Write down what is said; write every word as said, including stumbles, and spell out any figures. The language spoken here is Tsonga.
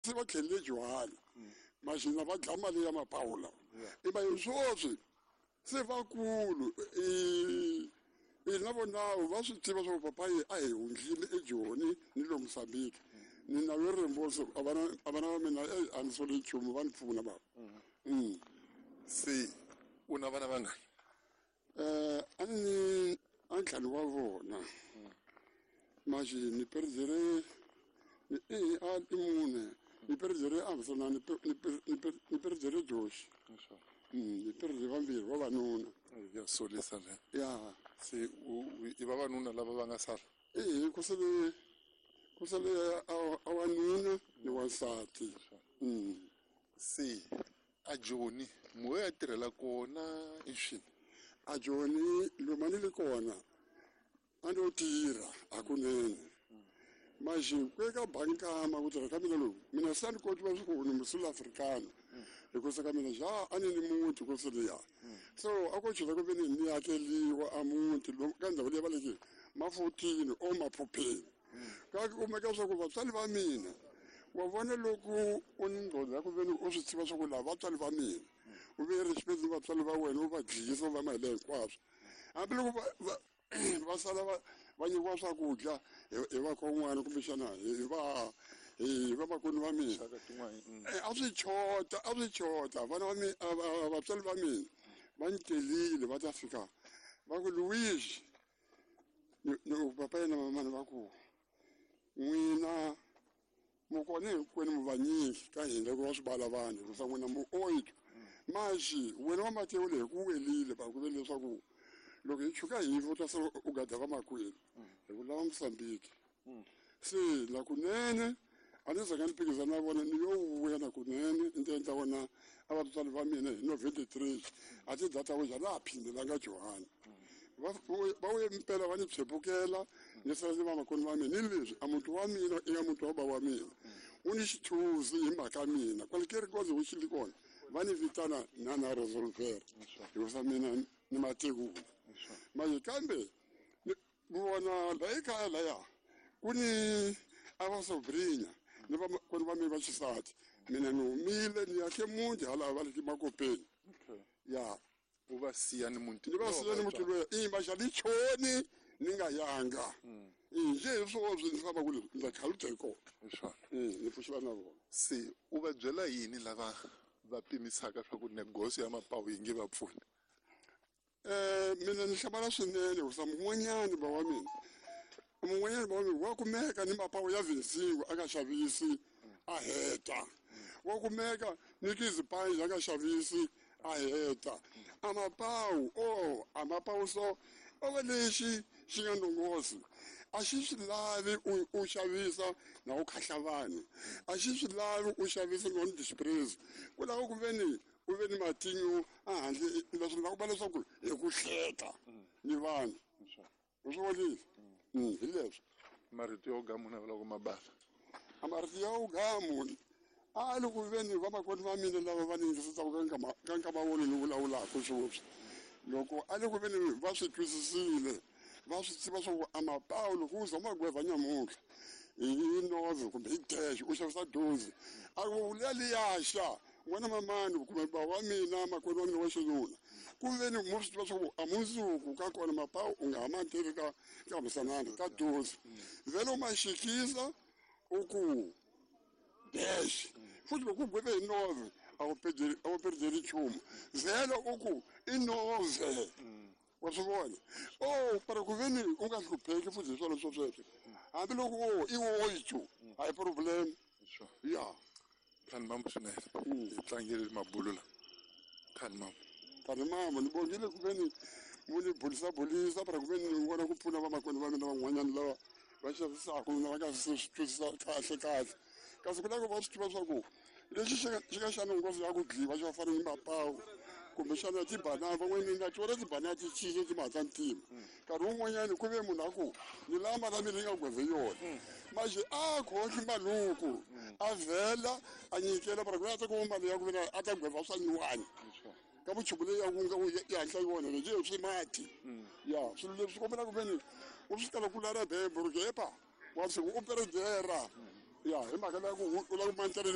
Se va tlhelele Johani maxina va dlaya mali ya mapawu lawa i va hi swoswi se vakulu i i na vonawu va swi tiva swa ku papayi a hi hundlile eJoni ni lo Mozambique ni na yo rimboso a vana a vana va mina eh, a ni soli nchumu va ni pfuna baba. Mm. Se u na vana vangani? Eh, a ni a ntlhanu wa vona maxi ni perizere ni i a i mune ni perizere a sona ni pe- ni pe- ni pe- ni perizere Joshi. Mm, ni perizere vambirhi vavanuna. Ya solisa le. Ya. Se u u- i vavanuna lava va nga sala? Eh, ku sele ku sele a a wanuna ni wansati. Mm. Se a Joni mo ya tirhela kona i swini? A Joni lomu a ni le kona a no tirha hakunene maxi ku eka bankama ku tirha ka mina loku mina se a ni koti va swi ku ni musouth africano hikusa ka mina xa a ni ni muti ku se liya so a ko chela ku ve ni ni akeliwa a muti lomu ka ndhawu leyi va leki mafotini o maphupheni ka kumeka swa ku vatswari va mina wa vona loko u ni ngqondo ya ku ve ni u swi tiva swa ku lava vatswari va mina u ve respect ni vatswari va wena u va dlisa u va mahela hinkwaswo hambiloko va va va sala va va nyikiwa swakudya hi hi vakon'wana kumbexana hi va hi vamakwenu va mina. Xaka tin'wana mm. Eh, a swi chota a swi chota vana va mina vatswari va mina va ni telile va ta fika va ku Louise ni ni papa yena mamani va ku n'wina mu kona hinkwenu mu vanyingi ka hina loko va swi vala vanhu hikusa n'wina mu oito maxi wena wa Matewu leyi ku welile va ku ve leswaku loko hi chuka hi u ta sala u gada vamakwenu hi ku lava Mozambique se na kunene a ni zanga ni phikizana na vona ni yo vuya na kunene ni ta endla vona a vatswari va mina hi no twenty-three a ti data ku la phindelanga Johani va va vuye mpela va ni tshepukela ni sala ni vamakwenu va mina ni leswi a muti wa mina i nga muti wa bava wa mina wu ni xithuzi hi mhaka mina kwale kerikoze wu xili kona va ni vitana na na resolver hikusa mina ni matekula manje kambe ni vona la ekaya laya ku ni a va sobrinya ni vamakwenu va mina va xisati mina ni humile ni yakhe muti hala va le makopeni. Okay. Ya. U va siya ni muti ni va siya ni muti loyi i maxa ni choni ni nga yanga njhe hi swoswi ni famba ku le ndza khaluta hi kona. Hi swona. Ni pfuxela na vona. Se u va byela yini lava va pimisaka swa ku negoso ya mapawu yi nge va pfuni? Eh, mina ni hlamala swinene hikusa mun'wanyani ba wa mina mun'wanyani ba wa mina wa kumeka ni mapawu ya vinsiwa a nga xavisi a heta wa kumeka ni tizipayi a nga xavisi a heta a mapawu o a mapawu so o va lexi xi nga ndongosi a xi swi lavi u u xavisa na u khahla vanhu a xi swi lavi u xavisa no dispraise ku lava ku ve ni u ve ni matinyo a handle leswi nga ku va leswaku hi ku hleka ni vanhu u swi vonile. Mm, hi leswi marito yo gamu na loko mabala a marito ya gamu a li ku ve ni vamakwenu va mina lava va ni yingisisaka ka nkama ka nkama wona ni vulavulaka sweswi loko a li ku ve ni va swi twisisile va swi tiva swa ku a mapawu loko u za magweva nyamuntlha hi novel kumbe hi dash u xavisa dozi a ku liya liya xa n'wana mamani kumbe ba wa mina makwenu wa mina wa xinuna ku ve ni mo swi tiva swa ku a mundzuku ka kona mapawu u nga ha ma teki ka ka musanana ka dozi vhele u ma xikisa u ku dash futhi loko u gweve hi novel a wu pedzeli a wu pedzeli nchumu vhele u ku i novel wa swi vona o para ku ve ni u nga hlupheki futhi hi swona swo sweswo hambiloko o i oito a hi problem. Ya. Khani mambo swinene hi tlangele mabulu la khani mambo khani mambo ni bongile ku ve ni mu ni bulisa bulisa para ku ve ni vona ku pfuna vamakwenu va mina van'wanyana lava va xavisaka na va nga swi twisisa kahle kahle kasi ku lava va swi tiva swa ku lexi xi nga xi nga xa nghozi ya ku dliwa xi va fana ni mapawu kumbexana tibanana van'wanyana na tiwona tibanana ti cinca ti ma ta ntima nkarhi wun'wanyani ku ve munhu a ku ni lava mali ya mina yi nga gweve yona manje a khohli maluku a vhela a nyikela para ku a ta kuma mali ya ku vena a ta gweva swa nyuwani ka vuchumu leyi ya ku nga yi hatla yi vona leswi swi mati ya swilo leswi kombela ku veni u swi tala ku lara bembo ri kepa wa swi u perejera ya hi mhaka leya ku u lava ku mantela.